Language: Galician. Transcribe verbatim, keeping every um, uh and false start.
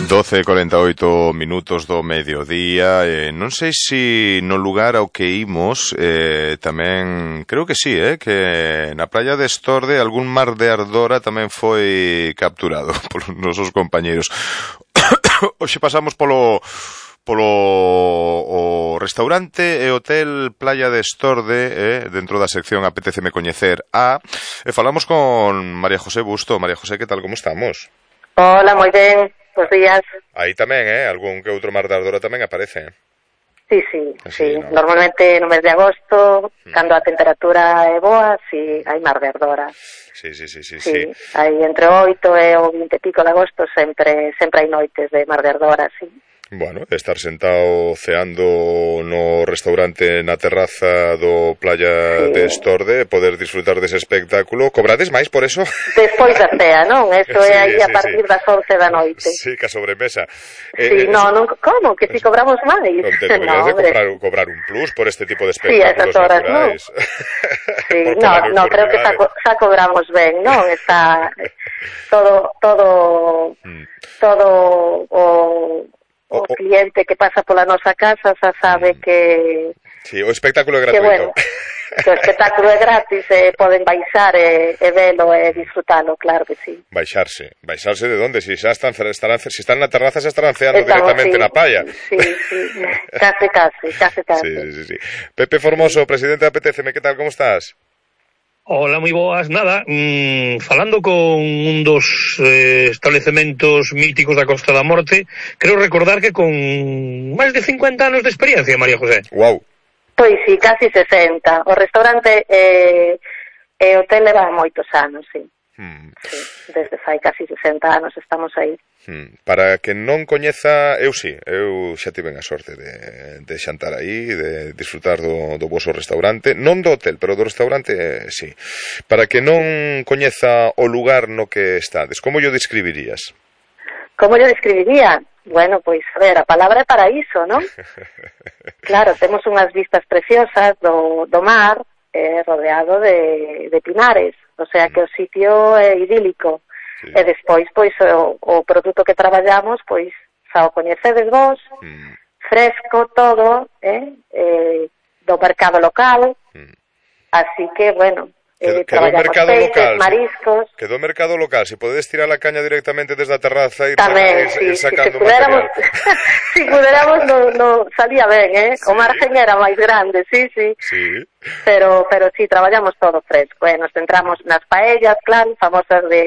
doce e cuarenta e oito minutos do mediodía. eh, Non sei se no lugar ao que imos eh, tamén, creo que sí, eh, que na praia de Estorde algún mar de ardora tamén foi capturado polos nosos compañeiros. Hoxe pasamos polo polo o restaurante e hotel Playa de Estorde, eh, dentro da sección Apeteceme Coñecer A, e falamos con María José Busto. María José, que tal, como estamos? Hola, moi ben, bos días. Aí tamén, eh, algún que outro mar de ardora tamén aparece. Sí, sí, Así, sí. ¿no? Normalmente no mes de agosto, Mm. cando a temperatura é boa, sí, hai mar de ardora. Sí, sí, sí, sí, Sí, sí. hai entre o oito e o vinte e pico de agosto sempre sempre hai noites de mar de ardora, sí. Bueno, de estar sentado ceando no restaurante na terraza do Playa Sí. de Estorde, poder disfrutar dese espectáculo. Cobrades máis por eso? Despois da cea, non? Eso Sí, é aí a sí, partir sí. das once da noite. Sí, ca sobremesa. Sí, Eh, no, non, como? Que si cobramos máis? Non te No, podrías de hombre. comprar, cobrar un plus por este tipo de Sí, a espectáculos esas horas, naturais. Sí, Por no, colar no, creo que xa, nocturnidades. co- xa cobramos ben, non? Está todo, todo, Mm. todo o, O- o o- cliente que pasa pola nosa casa xa sabe que, Sí, o espectáculo é que gratuito. bueno, que o espectáculo é gratis e poden baixar e, e velo e disfrutalo, claro que sí. Baixarse. Baixarse de onde? Si xa están, estarán, si están na terraza, xa estarán ceando Estamos, directamente sí, na playa. Sí, sí, case, case, case, case. Sí, sí, sí, sí. Pepe Formoso, presidente de Apeteceme, que tal, como estás? Hola, moi boas. Nada, mmm, falando con un dos eh, establecementos míticos da Costa da Morte, creo recordar que con máis de cincuenta anos de experiencia, María José. Wow. Pois sí, casi sesenta. O restaurante e eh, eh, hotel leva moitos anos, sí. Hmm. Sí, desde fai casi sesenta anos estamos aí. Hmm. Para que non coñeza, eu sí, eu xa tiven a sorte de, de xantar aí, de disfrutar do, do voso restaurante, non do hotel, pero do restaurante, eh, sí. Para que non coñeza o lugar no que estades, como yo describirías? Como yo describiría? Bueno, pois, a ver, a palabra é paraíso, non? Claro, temos unhas vistas preciosas do, do mar, eh, rodeado de, de pinares, o sea que o sitio é idílico. Sí. E despois, pois, o, o produto que traballamos, pois, xa o coñecedes vos, Hmm. fresco todo, eh, eh, do mercado local, Hmm. así que, bueno, Quedó, eh, quedó traballamos mercado peixes, local, mariscos, quedó mercado local, si podedes tirar a caña directamente desde a terraza e ir, tamén, saca, sí, ir si, sacando se puderamos, material. si puderamos no, no salía ben, eh, Sí. o margen era máis grande, sí, sí, Sí. pero, pero sí, traballamos todo fresco, eh, nos centramos nas paellas, claro, famosas de